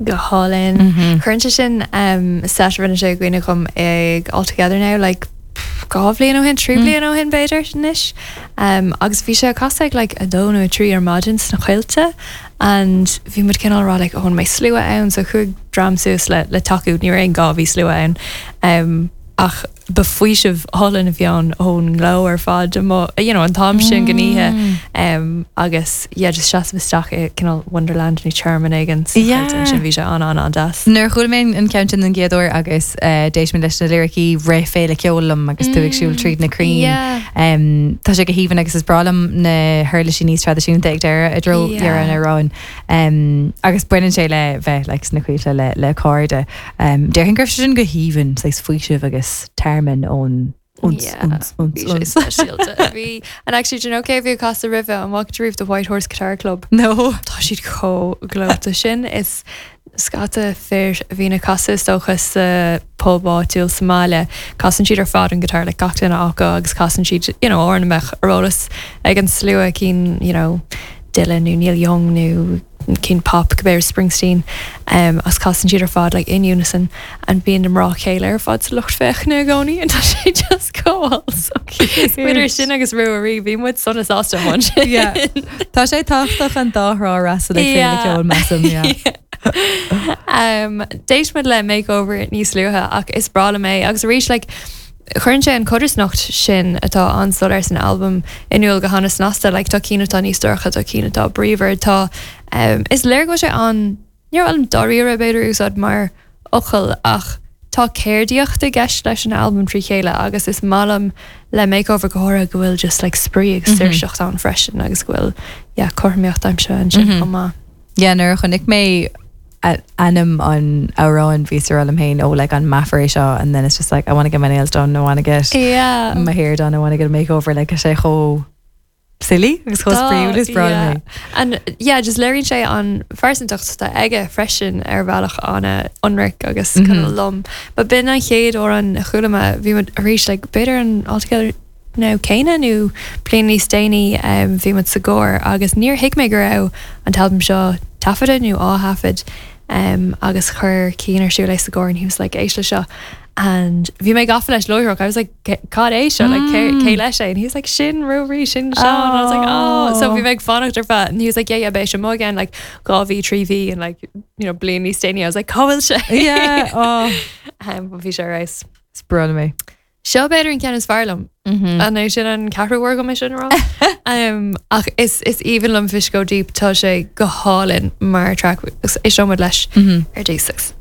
Go hálainn. Cuireann sé sin set a rinne sé i gcuimhne dhom ag All Together Now like 2 bhliain ó shin, 3 bliana ó shin b'fhéidir anois. Agus bhí sé ag casadh ag like 2 nó 3 ar maidin sna Coillte and bhí muid cineál ag rá like oh an mbeidh slua ann so chuaigh dream suas le le tacú, ní raibh aon gá bhí slua ann. Ach ba faoiseamh álainn a bhí ann ón ngleo ar fad amuigh, you know, an t-am sin den oíche agus yeah, just seasamh isteach i cineál wonderland nó tearmann éigin sna Coillte ansin, bhí sé an-an-an-deas. Nuair a chuala mé an ceann sin den gcéad uair agus d'éist mé leis na liricí rith féile ceoil liom agus tú ag siúl tríd na crainn. Tá sé go haoibhinn agus is breá liom na huirlisí níos traidisiúnta ag deireadh i dtreo dheireadh an amhráin. Agus baineann sé le bheith like sna coillte le le cairde. Déarfainn go raibh sé sin go haoibhinn, saghas faoiseamh agus tearmann ón uns, uns, uns, Bhí sé uns. speisialta. Bhí, and actually, do you know cé a bhí ag casadh roimhe? An bhfaca tú riamh The White Horse Guitar Club? No. Tá siad chomh gleoite sin. Is scata fir a bhíonn ag casadh is dócha sa pub áitiúil sa mbaile. Casann siad ar fad an guitar, like gach duine acu agus casann siad, you know, amhráin a mbeadh ar eolas ag an slua cinn, you know, Dylan nó Neil Young nó cinn pop, cibé, Springsteen, agus casann siad ar fad like in unison and bíonn na mná céile ar fad sa lucht féachana i gcónaí and tá sé just chomh so cute. Idir sin agus Ruairí, bhí muid sona sásta amuigh ansin. Yeah. Tá sé tábhachtach an dá thrá a fhreastal ag féile ceoil, measaim, yeah. Um, d'éist muid le Makeover níos luaithe ach is breá liom é agus arís like, Cuireann sé an chodarsnacht sin atá an-soiléir san albam in iúl go han-snasta, like tá cinn atá níos dorcha, tá cinn atá bríomhar, tá, is léir go bhfuil sé an, ní raibh liom dáiríre b'fhéidir a úsáid mar fhocal ach tá ceardaíocht i gceist leis an albam trí chéile agus is maith liom le Makeover go háirithe go bhfuil just like spraoi agus saoirseacht ann freisin agus go bhfuil yeah cothromaíocht aimsithe ansin chomh maith. Yeah, nuair a chonaic mé ainm an amhráin bhíos ag rá liom féin, oh like an meafar é seo and then it's just like I wanna get my nails done, I wanna get yeah. my hair done, I wanna get a makeover, like tá sé chomh silly agus chomh spraíúil is breá liom é. And yeah, just léiríonn sé an phearsantacht atá aige freisin ar bhealach an-ionraic agus mm -hmm. lom. But b'in an chéad amhrán a chuala mé, bhí muid arís like b'fhéidir an All Together Now céanna nó bliain níos déanaí bhí muid sa gcarr agus níor thuig mé go raibh an t-albam seo taifeadta nó á thaifead agus chuir Cian ar siúl é sa gcarr and he was like éist le seo and bhí mé gafa leis láithreach I was like cad é seo like cé cé leis é and he was like sin Ruairí sin Seán and I was like oh so bhí mé ag fanacht ar feadh and he was like yeah yeah beidh sé amuigh again like 2 mhí 3 mhí and like you know bliain níos déanaí I was like cá bhfuil sé yeah oh bhí sé ar fheabhas. Is breá liom é. Seo b'fhéidir an ceann is fearr liom. An é sin an ceathrú uair dom é sin a rá? Ach is is aoibhinn liom Fish Go Deep, tá sé go hálainn mar track agus éisteoidh muid leis ar dtús.